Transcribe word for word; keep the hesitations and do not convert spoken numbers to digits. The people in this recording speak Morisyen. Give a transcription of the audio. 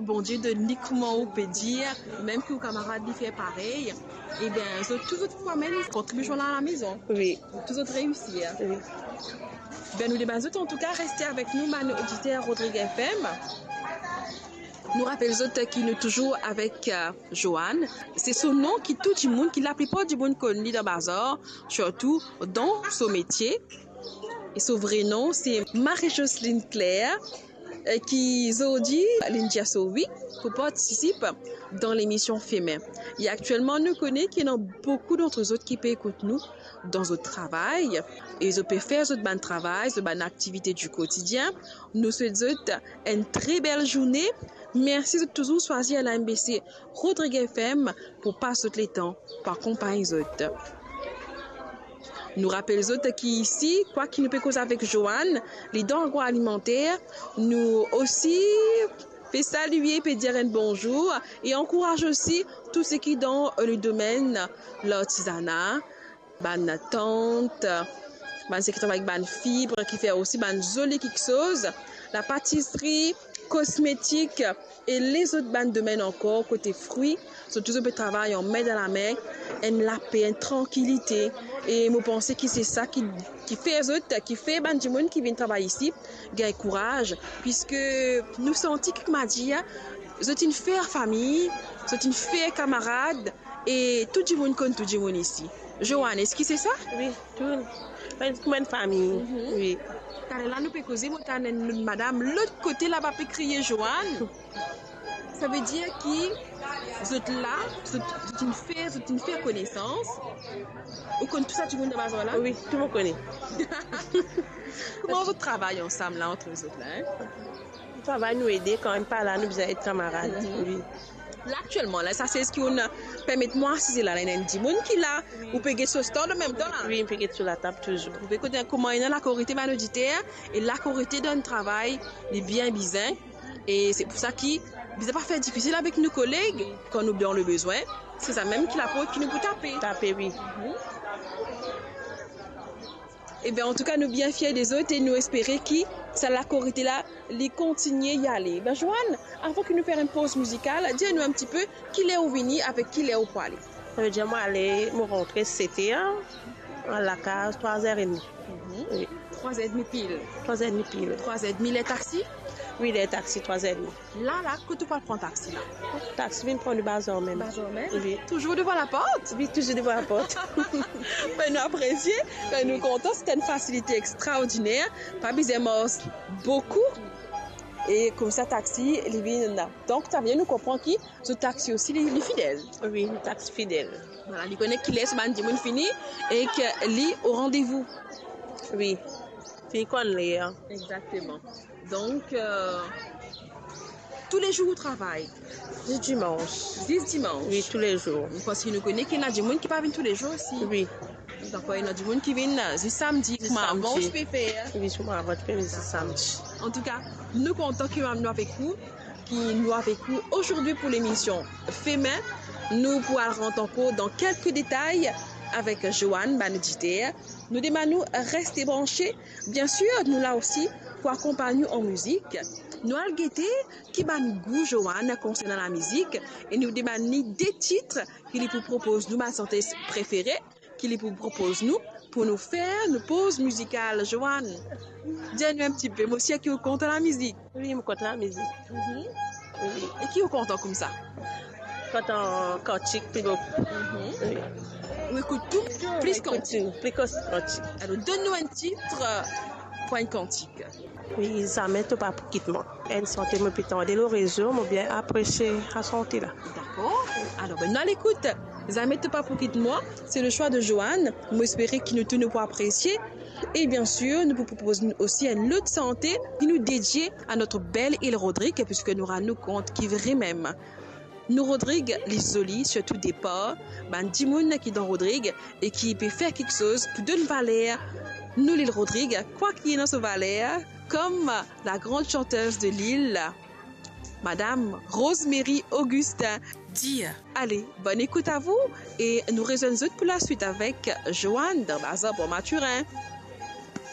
Bondie donn li, kouma ou pe dir, mem ki ou kamarad li fer parey, ebien, zot tou zot pou amenn kontribision la a lamezon. Wi. Tou zot reisir. Wi. Be, nou demann zot, antouka, reste avek nou, bann oditer Rodrig F M. Nou rapel zot ki nou touzour avek, euh, Joanne. Se so nom ki tou dimoun, ki laplipar dimoun konn li dan bazar, sirtou dan so metie. E so vre nom, se Marie-Jocelyne Claire, euh, ki zordi, linn dir so wi pou partisip dan lemision Femen. E aktielman, nou kone ki ena boukou d'antre zot ki pe ekout nou dan zot travay, e zot pe fer zot bann travay, zot bann aktivite di kotidien. Nou swet zot enn tre bel zourne. Mersi zot touzour swazir la M B C Rodrig F M pou pas zot letan, pou akonpagn zot. Nou rapel zot ki isi, kwak nou pe koz avek Joanne, li dan agroalimenter, nou osi pe salie, pe dir enn bonzour e ankouraz osi tou seki dan, euh, le domenn lartizana, bann tant, bann seki travay avek bann fib, ki fer osi bann zoli kiksoz, lapatisri, kosmetik e lezot bann domenn ankor, kote fri, zot touzour pe travay anmem dan lame, enn lape, enn trankilite. E mo panse ki se sa ki, ki fer zot, ki fer bann dimoun ki vinn travay isi gagn kouraz, piske nou santi ki, kouma dir, zot inn fer fami, zot inn fer kamarad, e tou dimoun konn tou dimoun isi. Joanne, eski se sa? Wi, tou. Kouma enn fami. Mhm. Wi. Taler la nou pe koze, mo tann enn madam lot kote laba pe kriye Joanne. Savedir ki zot la, zot, zot inn fer, zot inn fer konesans. Ou konn tou sa dimoun dan bazar la? Wi, tou mo kone. Kouma zot travay ansam la, antre zot la, en? Nou travay, nou ede, kan enn pa la, nou bizin ed kamarad. Mhm. Wi. La, aktielman, la, sa sez ki ou'nn permet mwa asize la, la, ena enn dimoun ki la, wi, ou pe get so stand anmemtan la? Wi, nou pe get so latab touzour. Ou pe kote kouma ena lakorite bann oditer, e lakorite dan travay, li bien bizin. E se pou sa ki bizin pa fer difisil avek nou koleg, kan nou dan le bezwin, se sa mem ki laport ki nou pou tape. Tape, wi. Mhm. Ebien, antouka, nou bien fier de zot e nou espere ki sa lakorite la, li kontigne ale. Be, Joanne, avan ki nou fer enn poz mizikal, dir nou enn tipe, ki ler ou vini, avek ki ler ou pou ale? Savedir, mo ale, mo rantre set er, al lakaz trwa er edmi. Mhm. Wi. Trwa er edmi pil. Trwa er edmi pil. Trwa er edmi, ler taxi? Wi, ler taxi, trwa er edmi. La, la, kot ou pou al pran taxi la? Taxi vinn pran nou bazar mem. Bazar mem? Wi. Touzour devan laport? Wi, touzour devan laport. Be, nou apresie, be, nou kontan, se enn fasilite extraordiner, pa bizin mars boukou. E koumsa taxi, li vinn la. Donk, sa vinn nou konpran ki so taxi osi, li, li fidel. Wi, taxi fidel. Vwala, li kone ki ler so bann dimoun fini e ki li o randevou. Wi, fini konn ler. Exakteman. Donk, euh, toulezour ou travay? Zis dimans. Zis dimans? Wi, toulezour. Parski nou kone ki ena dimoun ki pa vinn toulezour osi. Wi. Dakor, ena dimoun ki vinn, euh, zis samdi, zis kouma samdi. Avan ou ti pe fer. Wi, kouma avan ti pe vinn zis samdi. Antouka, nou kontan ki nou avek ou, ki nou avek ou azordi pou lemision Femen. Nou pou al rant ankor dan kelke detay avek Joanne, bann oditer. Nou demann ou reste branche. Biensir, nou la osi pou akonpagn ou an mizik. Nou al gete ki bann gou Joanne konsernan lamizik e nou demann li de tit ki li pou propoz nou, bann santez prefere ki li pou propoz nou, pou nou fer nou poz mizikal. Joanne, dir nou enn tipe, mo sir ki ou kontan lamizik. Wi, mo kontan lamizik. Mhm. Wi. E ki ou kontan koumsa? Kontan kantik pli boukou. Mhm. Wi. Ou ekout tou, plis kantik. Tou, plis kantik. Alor, donn nou enn tit, euh, pou enn kantik. Wi, Zame to pa pou kit mwa. Enn sante mo pe tande lor rezo, mo bien apresie sa sante la. Dakor. Alor, be, nou al ekout Zame to pa pou kit mwa, se le swa de Joanne. Mo espere ki nou tou nou pou apresie. E biensir, nou pou propoz nou osi enn lot sante ki nou dedie a notre belle île Rodrig, piski nou rann nou kont ki vremem nou Rodrig, li zoli, sirtou depar bann dimoun ki dan Rodrig e ki pe fer kiksoz pou donn valer nou lil Rodrig, kwa ki ena so valer, kom la grande chanteuse de l'île, Madame Rosemary Augustin. Dir. Ale, bonn ekout a vou e nou rezwenn zot pou laswit avek Joanne dan Bazar Port Mathurin.